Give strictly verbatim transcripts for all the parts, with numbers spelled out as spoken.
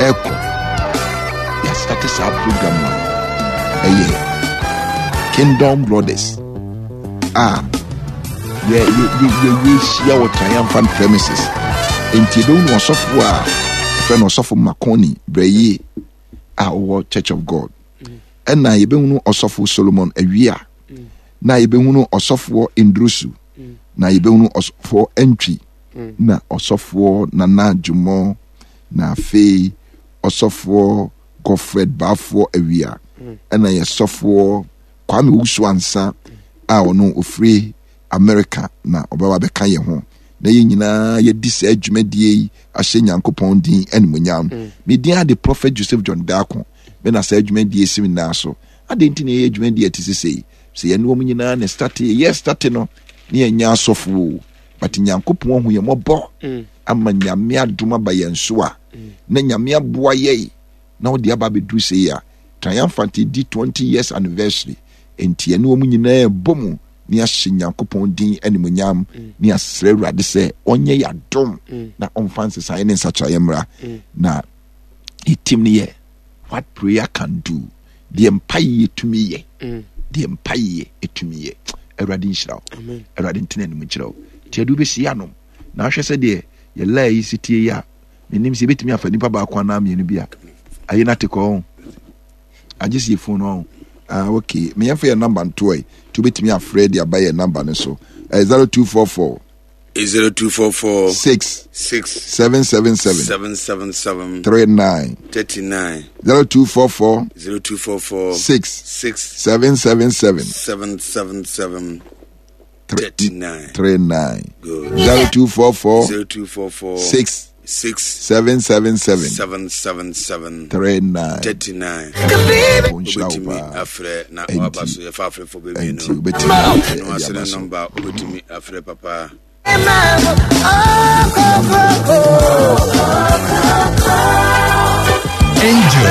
Ɛkɔ yɛastate saa program a ɛyɛ Kingdom Brothers a yɛhyia wɔ Triumphant premises. Nti yɛbɛhu no ɔsɔfoɔ a ɛfrɛ no Ɔsɔfo Makoni Brɛyie a ɔwɔ Church of God, ɛna yɛbɛhunu Ɔsɔfo Solomon Awia, na yɛbɛhunu Ɔsɔfoɔ Ndrusu, na yɛbɛhunu Ɔsɔfoɔ Antwi, na Ɔsɔfoɔ Nana Dwumɔ, na afei Ɔsɔfoɔ Godfred Baafoɔ Awia, ɛna yɛsɔfoɔ Kwame Wusu Ansa a ɔno ofiri America na ɔbɛba bɛka yɛn ho na yɛn nyinaa yɛdi saa dwumadie yi ahyɛ Nyankopɔn din animuonyam. Mm. Me din ade Prophet Joseph John Darko. Me na saa dwumadie si me nan so. Adɛn nti na yɛyɛ dwumadie ɛte sɛ sei? Sɛ yɛne wɔn nyinaa na starte, yɛyɛ starte no ne yɛnyɛ asɔfo o. But Nyankopɔn ahu yɛn mmɔbɔ mm. ama Nyame adom aba yɛn so a mm. na Nyame aboa yɛn na ɔde aba abɛduru sei a Triumphant di twenty years anniversary. Enti yɛne wɔn nyinaa bɔ mu ne ahyɛ Nyankopɔn din animuonyam mm. ne asrɛ Awurade sɛ ɔnyɛ yɛ adom mm. na ɔmfa nsesaeɛ ne nsakyeraeɛ mmra mm. Na yɛtim no yɛ What Prayer Can Do, deɛ mpaeɛ tumi yɛ, deɛ mpaeɛ tumi yɛ. Awurade nhyira wo, Awurade ntena anim nkyerɛ wo. Nti ɛde wobɛsi anom na ahwɛ sɛ deɛ yɛlaa yi si tie yi a, menim sɛ yɛbɛtumi afa nipa baako anaa mmienu bi a ayi no ate kɔ ho agye sɛ yɛfon no ho. Ah, ok, meyɛmfa yɛ namba ntoɔ yi nti wobɛtumi afrɛ de aba yɛ namba no so. Eh, zero two four four zero two four four six six seven seven seven seven seven seven three nine thirty-nine. zero two four four zero two four four six six seven seven seven seven seven seven thirty-nine. three nine. Good. zero two four four zero two four four six six seven seven seven seven seven seven three nine. thirty-nine. Ɔnhyira wo Wobɛtumi paa. afrɛ na Enti- waba so yɛfa afrɛfo Enti bɛmienu wobɛtumi ɛno ɛde ase aba ne so. Nɔmba wobɛtumi afrɛ papa. Angel.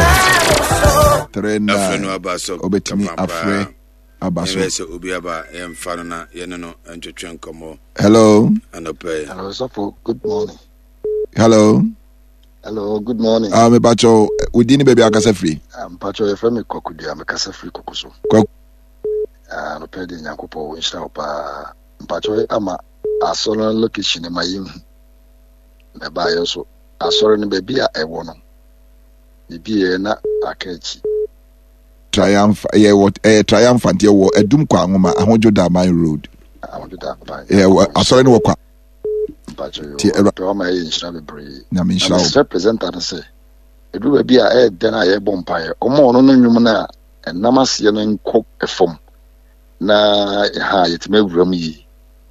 Three afrɛ nine. No aba so. Wobɛtumi kama paa. afrɛ aba so. Yɛbɛyɛ sɛ obi aba, yɛmfa no na yɛne no ntwetwe nkɔmmɔ Hello. anɔpɛ yi. Hello, Sɔfo. Good morning. Hello. Hello, good morning. Ah, mepakyɛw, wo din ne baabi akasa firi? Ah, mpakyɛw, yɛfrɛ me Kwakudua, mekasa firi Koko so. Kwaku. Ah, anɔpɛ de Nyankopɔn wo nhyira wo paa. Mpakyɛw, ama asɔre no location no ma yɛnhu. Na ɛbaeɛ nso, asɔre no baabi a ɛwɔ no, biribi na aka akyi. Triumph, yɛwɔ ɛyɛ Triumphant, yɛwɔ Adum Kɔ Anwoma, Ahodwo Daman Road. Ahodwo Daman. Yɛwɔ asɔre no wɔ kwa. Mpakyɛw, Ti yɛ Awura- pɛ wama ɛyɛ nhyira bebree. Nyame Na nhyira wo. Mesrɛ presenter no sɛ, ɛduru baabi a ɛyɛ dɛn a yɛbɔ mpaeɛ, ɔma ɔno no nnwom no a ɛnam aseɛ no nkɔ fam na ha yɛtumi awura mu yie.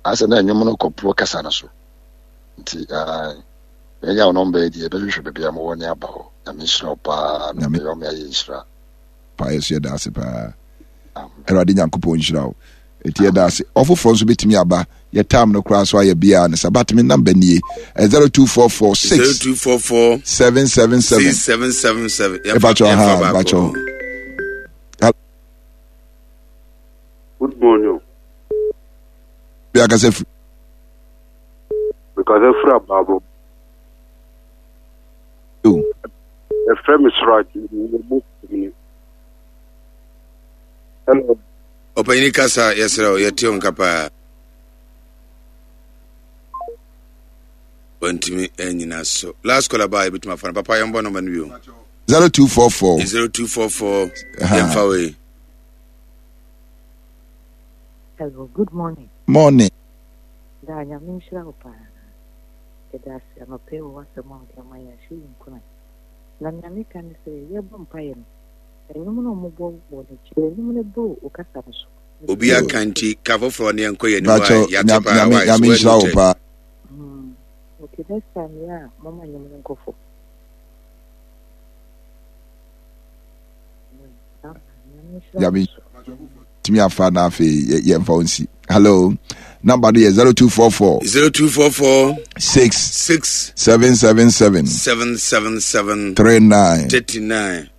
Asɛ na nnwom no kɔporɔ kasa no so. Nti ah, manya wo nɔmba yi deɛ, yɛbɛhwehwɛ baabi a mowɔ ne aba hɔ. Nyame nhyira wo paa na Nyame- ɔbɛyɛ ɔme ayɛ nhyira. Paa, yɛso yɛda ase paa. Amen. Awurade Nyankopɔn nhyira wo. Ɛti yɛda ase. Ɔfoforɔ nso bɛtumi aba. Yɛ time no koraa so ayɛ biaa ne sa, but me number nie, zero two four four six zero two four four seven seven seven six seven seven seven. Mepakyɛw, ha, mepakyɛw. Good morning. Bi akasa firi? Because firi Abaabo. O. Yɛfrɛ me Suraj. Meyɛ Muslim. Hello. Ɔpanyini, kasa, yɛserɛ wo, yɛte wo nka paa. Wantumi anyina so. Last caller baa, yɛbɛtumi afa no. Papa, yɛmbɔ nɔmba no bio. zero two four four zero two four four. Aha. Yɛmfa wei. Hello, good morning. Morning. Da Nyame nhyira wo paa. Yɛda ase anɔpɛ wɔ w'asɛm a wode ama yɛn ahyɛ yi nkuran. Na nea meka ne sɛ yɛbɔ mpaeɛ no, ɛnwom no a ɔmobɔ wɔ n'akyi no, ɛnwom no boro wo kasa no so. Obi aka nti ka foforɔ ne yɛnkɔ yɛn anim a Mepakyɛw, yɛate Nyame paa. Nyame Wae so Nyame nhyira wo woanu paa. Hmm. Okay, next time yɛ a moma nnwom no nkɔ fam. Hmm. Nyame nhyira wo Nyame so. Tumi afa na afei yɛ- yɛmfa wo nsi. Hello, number no yɛ zero two four four zero two four four six six seven seven seven seven seven seven three nine. thirty-nine.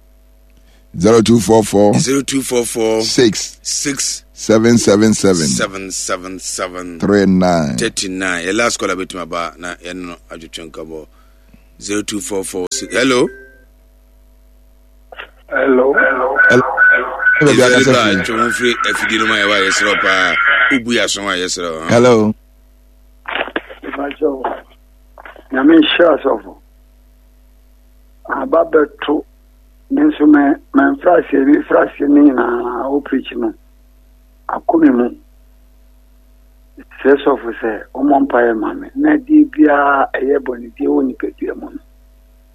zero two four four zero two four four six six seven seven seven seven seven seven three nine. thirty-nine. Yɛ last caller bɛtumi aba na yɛne no adwetwe nkɔmmɔ. zero two four four. Hello. Hello. Hello. Baabi akasa firi. Twɛ ho firi afidie no mu a yɛwɔ a yɛserɛ paa. Wobu yɛ aso a yɛserɛ. Hello. Nyame nhyira asɔfo. Aba bɛto me nso me mfra aseɛ me mfra aseɛ ne nyinaa wo preach no akɔ me mu. Srɛ sɔfo sɛ ɔmmɔ mpaeɛ ma me na adeɛ biara ɛyɛ bɔnedie wɔ nipadua mu no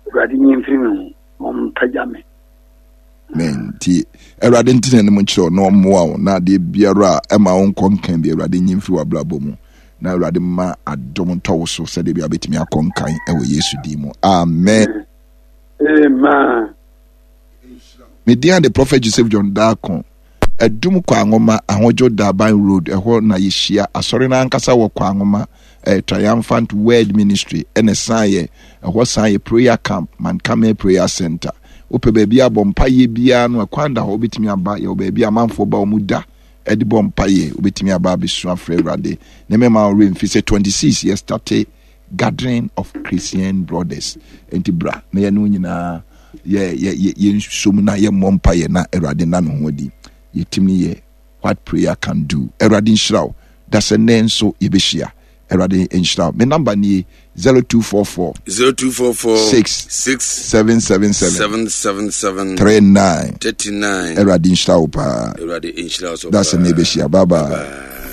Awurade nyi mfiri me ho na ɔmpagya me. Amen. Nti Awurade nti n'anim nkyerɛ wo na ɔmmoa wo na adeɛ biara a ɛma wo nkɔ nkan bi Awurade nyi mfiri w'abrabɔ mu na Awurade ma adom ntɔ wo so sɛdeɛ bi a wobɛtumi akɔ nkan wɔ Yesu din mu. Amen. Amen. Me din de Prophet Joseph John Darko. Adum Kwangoma, Ahodwo Daban Road, ɛhɔ na yɛhyia. Asɔre no ankasa wɔ Kwangoma, eh, Triumphant Word Ministry, ɛna ɛsan yɛ, ɛhɔ san yɛ prayer camp, Mankame Prayer Center. Wopɛ baabi abɔ mpaeɛ biara no, ɛkwan da hɔ, wobɛtumi aba. Yɛwɔ baabi a amanfoɔ ba wɔn da ɛde bɔ mpaeɛ, wobɛtumi aba abɛsu afrɛ Awurade. Ne mɛma wo werɛ mfi sɛ twenty-six yɛ starte Gathering of Christian Brothers. Enti bra na yɛne wo nyinaa yɛ yɛ yɛ yɛnsom na yɛmmɔ mpaeɛ na Awurade nna ne ho adi. Yɛtim ne yɛ What Prayer Can Do. Awurade nhyira wo. Da sɛ nnɛ nso yɛbɛhyia. Awurade nhyira wo. Me namba nie zero two four four zero two four four six six seven seven seven seven seven seven three nine thirty nine. Awurade nhyira wo paa. Awurade nhyira wo so Da sɛ nnɛ yɛbɛhyia. Bye bye. Bye.